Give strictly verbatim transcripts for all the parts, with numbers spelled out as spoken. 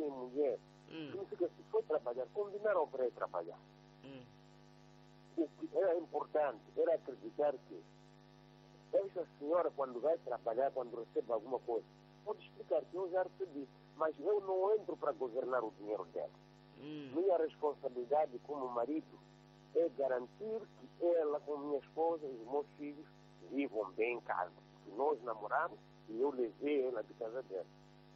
homem e mulher, hum. significa que se for trabalhar, combinaram para ir trabalhar. Hum. O que era importante era acreditar que essa senhora, quando vai trabalhar, quando recebe alguma coisa, pode explicar que eu já recebi, mas eu não entro para governar o dinheiro dela. Hum. Minha responsabilidade como marido é garantir que ela, com minha esposa e os meus filhos, vivam bem em casa. Porque nós namoramos e eu levei ela de casa dela.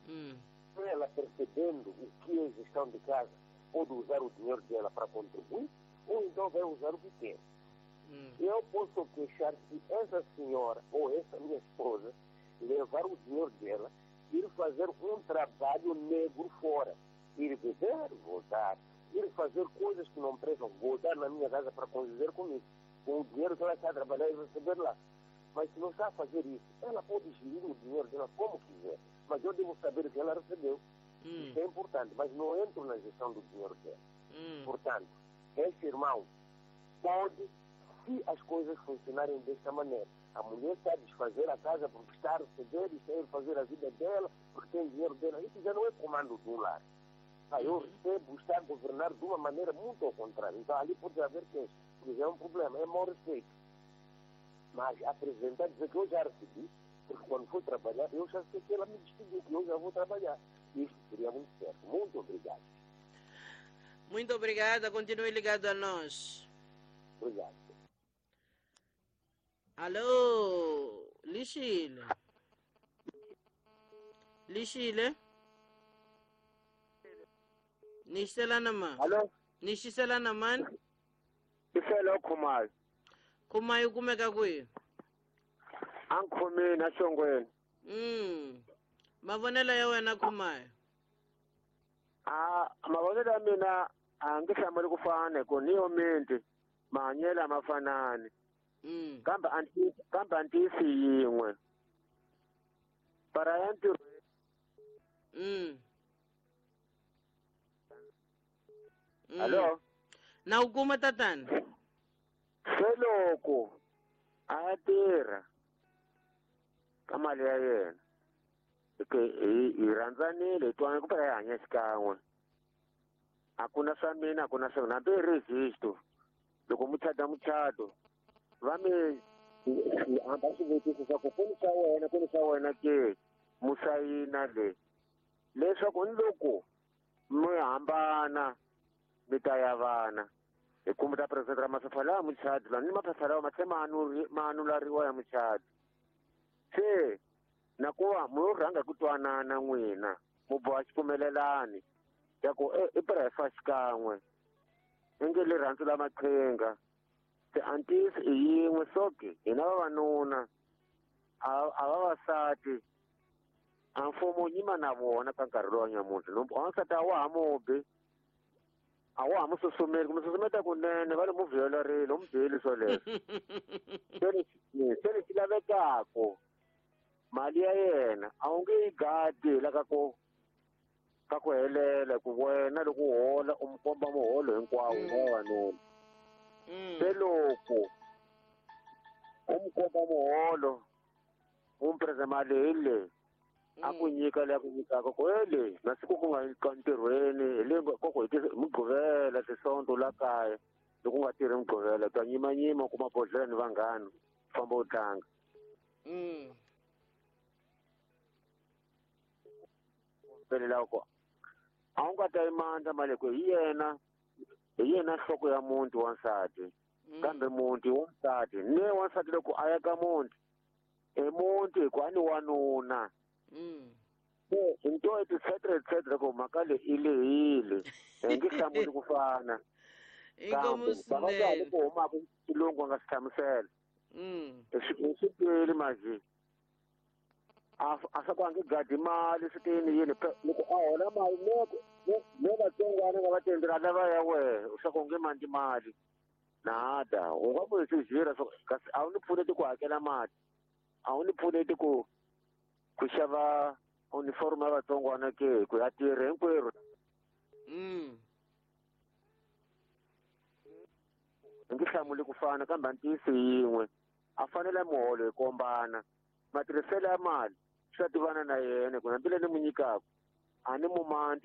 Hum. Ela, percebendo o que é gestão de casa, pode usar o dinheiro dela para contribuir, ou então vai usar o que quer. Hum. Eu posso queixar se essa senhora ou essa minha esposa levar o dinheiro dela e ir fazer um trabalho negro fora. Ir beber, voltar. Ir fazer coisas que não prestam, voltar na minha casa para conviver comigo, com o dinheiro que ela está a trabalhar e receber lá. Mas se não está a fazer isso, ela pode gerir o dinheiro dela como quiser, mas eu devo saber o que ela recebeu. Hum. Isso é importante, mas não entro na gestão do dinheiro dela. Hum. Portanto, esse irmão pode, se as coisas funcionarem desta maneira, a mulher está a desfazer a casa porque está a receber, está a fazer a vida dela, porque tem dinheiro dela, isso já não é comando do lar. Ah, eu recebo, está a governar de uma maneira muito ao contrário. Então ali pode haver queixa, porque já é um problema, é mau respeito. Mas apresentar, dizer que eu já recebi, porque quando fui trabalhar, eu já sei que ela me despediu, que eu já vou trabalhar. Isso seria muito certo. Muito obrigado. Muito obrigada, continue ligado a nós. Obrigado. Alô, Lixile. Lixile. Nishelana ma. Alô? Nishiselana man. Iselo Khumayo. Khumayo kumeka kwihi? Angikhomeni ashongweni. Mm. Mavonelo ya wena Khumayo. Ah, mavonelo ya mina angihlamuli ku fana ku niyo minti mahanyelo a ma fanani. Mm. Kambe anti kambe antisi yin'we. Para ya ntirho. Mm. Mm. Alô? Na u kuma tatana? Se loko a ya tirha ka mali ya yena ke hi hi rhandzanile hi twanana ku phela hi hanya xikan'we a ku na swa mina a ku na swa wena hambi hi register loko mu chata muchato va mi hamba swivutiso swa ku ku ni swa wena ku ni swa wena ke mu sayina le leswaku ni loko mi hambana mi ta ya vana hi ku mi ta presentera maphepha lawa muchadi lawa ni maphepha lawa ma tlhe ma ma anulariwa ya muchadi se na ku va mu rhanga ku twanana n'wina mu boha xipfumelelani ya ku i pira hi fa xikan'we i nge rirhandzu la maqhinga se antisi i yin'we soke hina vavanuna a a vavasati a mfumo wu yima na vona ka nkarhi lowu wa nyamuntlha wansati a wa ha mubi a wa ha mu susumeli ku mu susumeta kunene va le mu vuyelerile u mu byeli swoleswo se lexi se lexi lavekaka mali ya yena a wu nge yi gadi la ka ku ka ku helela ku wena loko u hola u mu komba muholo hinkwawo wa vavanuna se loko u mu komba muholo u mu prese mali hi leyi a ku nyika leyi a ku nyikaka ku he leyi masiku ku nga ka ntirhweni hi le ko ku hi Mugqivela Tisonto la kaya loko u nga tirhi Mugqivela ta nyimanyima u kuma bodlhela ni vanghana famba u tlanga. Ku a wu nga ta yi mandla mali ku hi yena hi yena nhloko ya muti wansati kambe muti wansati ne wansati loko a ya ka muti i muti hi ku a ni wanuna. Se into etcetera etcetera ku mhaka leyi i lehile hi nge hlamuli ku fana inkomu swinene ku humaka xilungu a nga swi hlamusela i swi tweli manje a a swa ku a nge gadi mali swi tiyini yini loko a hola mali ne ne vatsongwana nga va tendela lava ya wehe swa ku u nge mandli mali nada u nga ku hi swi jira swa kasi a wu ni pfuneti ku hakela mali a wu ni pfuneti ku ku xava uniform ya vatsongwana ke ku ya tirha hinkwerhu. Mm. Hi nge hlamuli ku fana kambe a ntiyiso yin'we a fanele muholo hi kombana matirhiselo ya mali swi ta tivana na yena ku hambi leyi ni mu nyikaka a ni mu mandli